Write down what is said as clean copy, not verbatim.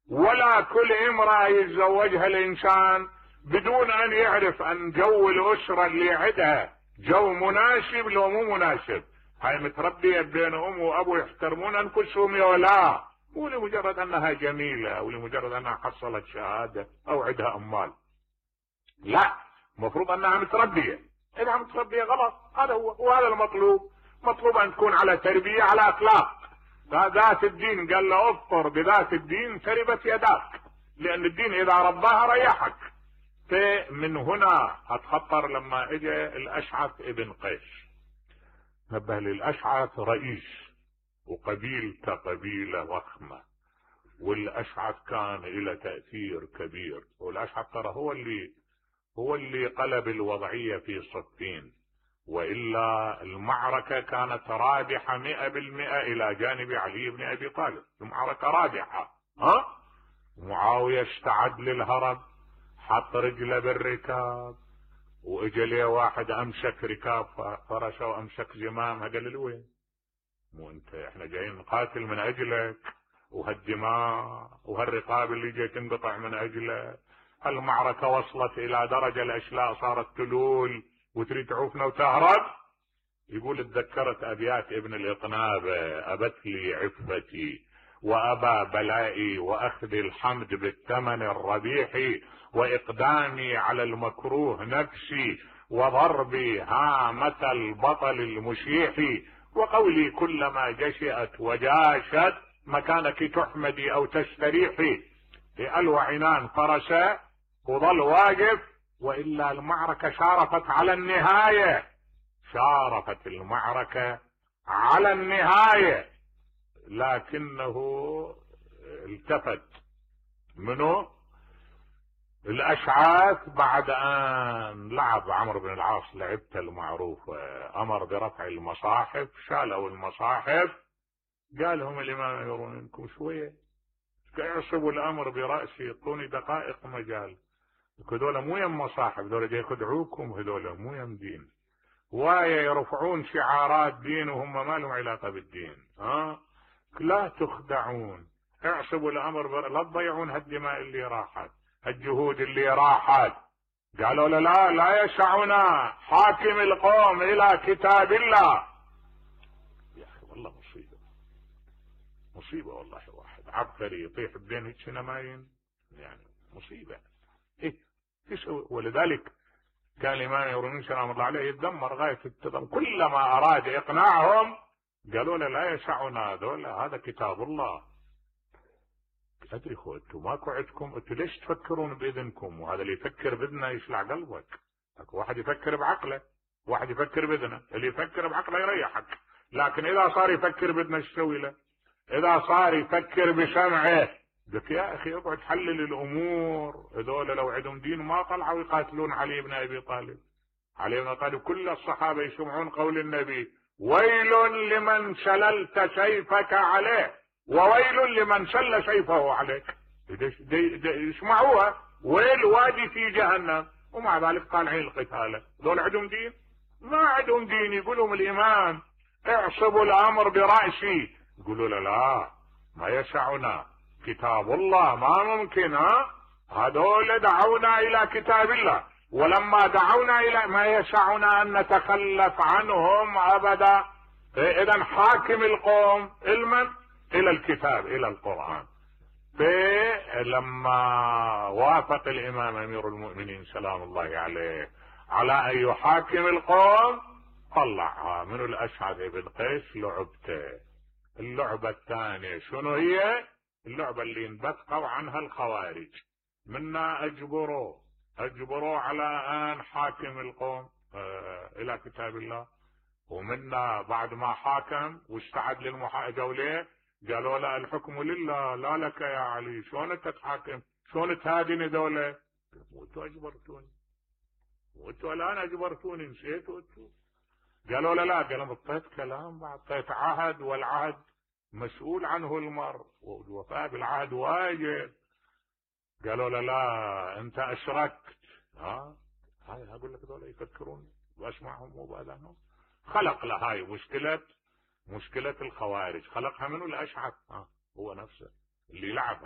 ولا كل امرأة يتزوجها الانسان بدون ان يعرف ان جو الاسرة اللي عندها جو مناسب لو مو مناسب. هاي متربية بين ام وابو يحترمون انفسهم يا لا، مو لمجرد انها جميلة او لمجرد انها حصلت شهادة او عندها اموال. لا، المفروض انها متربية. اذا متربية غلط، هذا هو، وهذا المطلوب. مطلوب ان تكون على تربية، على اخلاق. ذات الدين قال له اظفر بذات الدين تربت يداك، لان الدين اذا رباها ريحك. فمن هنا اتخطر لما اجى الاشعث ابن قيس. نبه للاشعث رئيس وقبيلته قبيلة وخمة، والاشعث كان له تأثير كبير، والاشعث ترى هو اللي قلب الوضعية في صفين، وإلا المعركة كانت رابحة 100% إلى جانب علي بن أبي طالب. المعركة رابحة. معاوية استعد للهرب، حط رجله بالركاب، واجى ليه واحد امسك ركاب فرشه وامسك زمامها، قال له وين؟ مو انت احنا جايين نقاتل من اجلك، وهالدماء وهالرقاب اللي جاي تنقطع من اجله. المعركة وصلت الى درجة الاشلاء صارت تلول وتريد تعوفنا وتهرب. يقول اتذكرت ابيات ابن الاقنابة: ابت لي عفتي وابى بلائي واخذ الحمد بالثمن الربيح، واقدامي على المكروه نفسي، وضربي هامة البطل المشيح، وقولي كلما جشئت وجاشت مكانك تحمدي او تستريحي. ألوى عنان فرسه وظل واقف، وإلا المعركة شارفت على النهاية. شارفت المعركة على النهاية، لكنه التفت منه الاشعاث بعد ان لعب عمرو بن العاص لعبته المعروفة، امر برفع المصاحف، شالوا المصاحف، قالهم الامام يرون منكم شوية، يعصبوا الامر برأسي، يعطوني دقائق مجال. هذول مو يم مصاحف، هذول جاي يخدعوكم، هذول مو يم دين، وايه يرفعون شعارات دين وهم ما لهم علاقة بالدين. لا تخدعون، اعصبوا الامر لا تضيعون هالدماء اللي راحت، هالجهود اللي راحت. قالوا لا يسعنا حاكم القوم الى كتاب الله. يا اخي والله مصيبة والله، واحد عبقري يطيح بدين هيك نماين، يعني مصيبة. ايه تسوي؟ ولذلك كان الامام يروني سلام الله عليه يتذمر غاية التذمر، كلما اراد اقناعهم قالوا له لا يسعنا هذا كتاب الله. ادري خو انتم ماكو عندكم، انتم ليش تفكرون باذنكم؟ وهذا اللي يفكر باذنه يشلع قلبك. اكو واحد يفكر بعقله، واحد يفكر باذنه، اللي يفكر بعقله يريحك، لكن اذا صار يفكر باذنه ايش تسوي له؟ اذا صار يفكر بسمعه، قلت يا اخي اقعد حلل الامور. هذول لو عندهم دين ما طلعوا يقاتلون علي بن ابي طالب. علي بن ابي طالب كل الصحابه يسمعون قول النبي: ويل لمن شللت سيفك عليه وويل لمن شل سيفه عليك. يسمعوها، ويل وادي في جهنم، ومع ذلك طالعين القتال. دول عندهم دين؟ ما عندهم دين. يقولون الامام اعصبوا الامر برأسي، يقولوا لا ما يسعنا كتاب الله، ما ممكن. هذول دعونا الى كتاب الله، ولما دعونا الى ما يسعنا ان نتخلف عنهم ابدا. اذا حاكم القوم المن الى الكتاب، الى القرآن. لما وافق الامام امير المؤمنين سلام الله عليه على ان يحاكم القوم، طلع من الاشعث بن قيس لعبته. اللعبة الثانية شنو هي؟ اللعبة اللي انبثقوا عنها الخوارج، منا اجبروا على ان حاكم القوم الى كتاب الله، ومنا بعد ما حاكم واستعد للمحاجة وليه قالوا لا الحكم لله لا لك يا علي، شلون انت تحاكم؟ شلون تهادني دولة؟ وانتوا اجبرتوني، وانتوا الان اجبرتوني، نسيتوا انتوا؟ قالوا لا قالوا اعطيت كلام، اعطيت عهد، والعهد مسؤول عنه المرء، والوفاء بالعهد واجب. قالوا لا انت اشركت. هاي اقول لك دول يفكرون واسمعهم وبالهم. خلق له هاي مشكلة الخوارج، خلقها منه الاشعث، هو نفسه اللي لعب